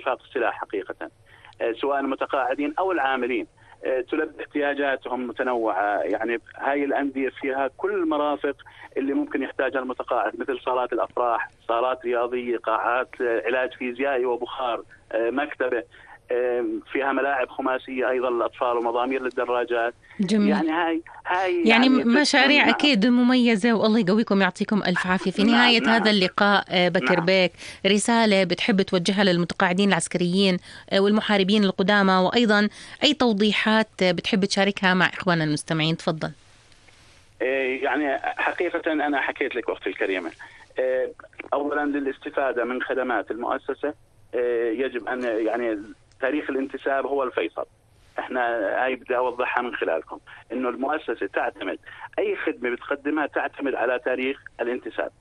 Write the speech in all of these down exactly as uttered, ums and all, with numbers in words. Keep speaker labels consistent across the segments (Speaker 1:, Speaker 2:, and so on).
Speaker 1: إنفاق السلاح حقيقة، سواء المتقاعدين أو العاملين، تلبي احتياجاتهم متنوعة. يعني هاي الأندية فيها كل المرافق اللي ممكن يحتاجها المتقاعد، مثل صالات الأفراح، صالات رياضية، قاعات علاج فيزيائي وبخار، مكتبة، فيها ملاعب خماسية أيضا للأطفال ومضامير للدراجات.
Speaker 2: جميل.
Speaker 1: يعني هاي هاي
Speaker 2: يعني,
Speaker 1: يعني
Speaker 2: مشاريع
Speaker 1: نعم.
Speaker 2: أكيد مميزة، والله يقويكم يعطيكم ألف عافية. في نهاية
Speaker 1: نعم.
Speaker 2: هذا
Speaker 1: نعم.
Speaker 2: اللقاء بكر
Speaker 1: نعم.
Speaker 2: بيك، رسالة بتحب توجهها للمتقاعدين العسكريين والمحاربين القدامى، وأيضا أي توضيحات بتحب تشاركها مع إخواننا المستمعين؟ تفضل.
Speaker 1: يعني حقيقة أنا حكيت لك أختي الكريمة، أولا للاستفادة من خدمات المؤسسة يجب أن يعني تاريخ الانتساب هو الفيصل. احنا هاي بدي اوضحها من خلالكم، انه المؤسسة تعتمد اي خدمة بتقدمها تعتمد على تاريخ الانتساب.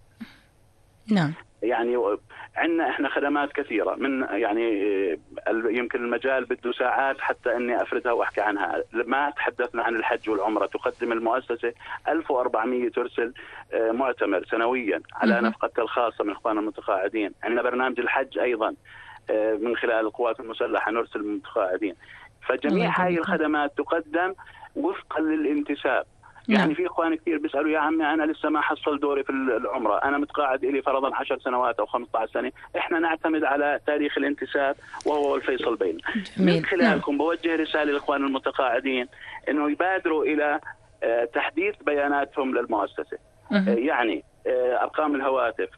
Speaker 2: نعم.
Speaker 1: يعني عندنا احنا خدمات كثيرة، من يعني يمكن المجال بده ساعات حتى اني افردها واحكي عنها. ما تحدثنا عن الحج والعمرة، تقدم المؤسسة ألف وأربعمية ترسل معتمر سنويا على نفقتها الخاصة من اخواننا المتقاعدين. عندنا برنامج الحج ايضا من خلال القوات المسلحة نرسل المتقاعدين. فجميع هاي الخدمات تقدم وفقا للانتساب. يعني نعم. في اخوان كثير بيسالوا يا عمي انا لسه ما حصل دوري في العمره، انا متقاعد لي فرضا عشر سنوات او خمسة عشر سنه. احنا نعتمد على تاريخ الانتساب وهو الفيصل بيننا. من خلالكم نعم. بوجه رساله للاخوان المتقاعدين انه يبادروا الى تحديث بياناتهم للمؤسسه. أه. يعني ارقام الهواتف،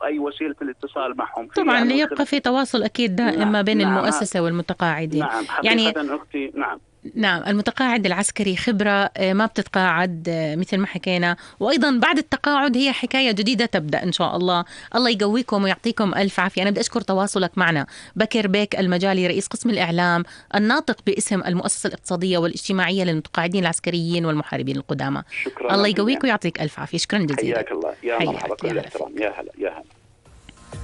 Speaker 1: اي وسيله الاتصال معهم
Speaker 2: طبعا ليبقى في تواصل اكيد دائم ما بين
Speaker 1: نعم.
Speaker 2: المؤسسه والمتقاعدين.
Speaker 1: نعم حقيقه يعني اختي. نعم
Speaker 2: نعم. المتقاعد العسكري خبرة، ما بتتقاعد مثل ما حكينا، وأيضا بعد التقاعد هي حكاية جديدة تبدأ إن شاء الله. الله يقويكم ويعطيكم ألف عافية. أنا بدي أشكر تواصلك معنا بكر بيك المجالي، رئيس قسم الإعلام الناطق باسم المؤسسة الاقتصادية والاجتماعية للمتقاعدين العسكريين والمحاربين القدامى. الله يقويك ويعطيك ألف عافية. شكرا جزيلا.
Speaker 1: حياك الله. يا مرحبا. كل احترام. يا هلا يا هلا.